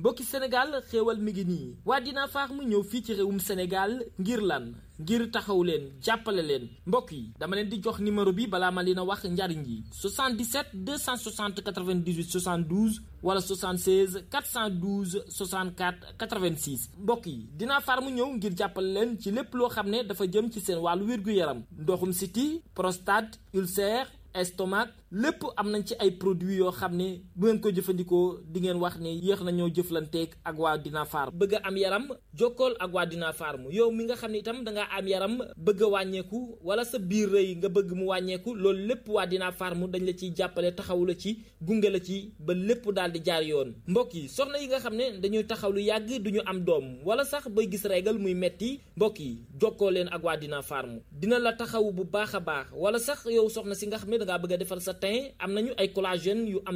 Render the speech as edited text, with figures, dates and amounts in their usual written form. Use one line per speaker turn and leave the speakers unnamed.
mbokki Sénégal xéewal mi ngi nii waa Dina Farm ñëw fii ci réewum Sénégal ngir lan ngir taxaw leen jàppale leen mbokk yi dama leen di jox numéro bi balaa ma leen a wax njariñ yi 77 260 98 72 wala 76 412 64 86 mbokk yi Dina Farm ñëw ngir jàppale leen ci lépp loo xam ne dafa jëm ci seen wàllu wér-gu-yaram ndoxum siti prostate ulcère estomac lépp am nañ ci ay produits yoo xam ne bu ngeen ko jëfandikoo di ngeen wax ne yéex nañoo jëflanteeg ak waa Dina Farm bëgg a am yaram jokkool ak waa Dina Farm yow mi nga xam ne itam dangaa am yaram bëgg a wàññeeku wala sa biir rëy nga bëgg mu wàññeeku loolu lépp waa Dina Farm dañ la ciy jàppale taxawu la ci gunge la ci ba lépp daal di jaar yoon mbokk yi soxna yi nga xam ne dañuy taxaw lu yàgg duñu am doom wala sax bay gis régal muy metti mbokk yi jokkoo leen ak waa Dina Farm dina la taxawu bu baax a baax wala sax yow soxna si nga xam ne dangaa bëgg a defar sa teint am nañu ay collagène yu am